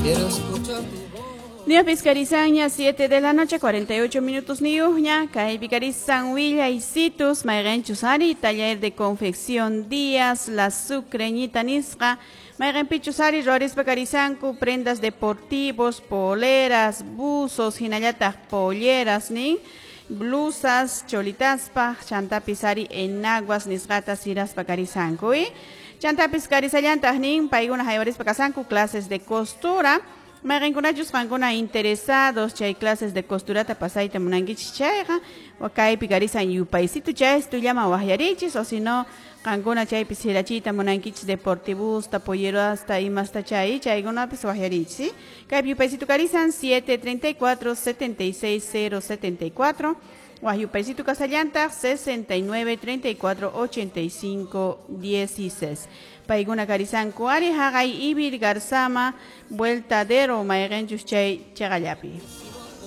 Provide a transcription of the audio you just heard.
Quiero escuchar tu voz. Ñapis karisanña 7 de la noche 48 minutos niyuqña kaypi karisan willaysitus mayqinchus ari taller de confección Díaz la Sucreñita nisqa mayqinpichus ari ruwarispa karisanku prendas deportivos, poleras, buzos, hinallataq polleras nin blusas, cholitaspa, chantapis ari enaguas nisqata siraspa karisanku chantapis karisallantaq nin paykuna haywarispa kasanku clases de costura. Mayqinkunachus qankuna interesados chay clases de costurata pasayta munankichis chayqa kaypi karisan yupaysitu chaystullaman waqyarichis o si no qankuna chaypi sirachiyta munankichis deportivusta, pollerasta, imasta chay chaykunapis waqyarichis, ¿sí? Kaypi yupaysitu karisan 734 76 074 waq yupaysitu kasallantaq 69 34 85 16. Paykuna karisanku ari haqay Ibir Garzama vueltadero mayqinchus chay chaqallapi.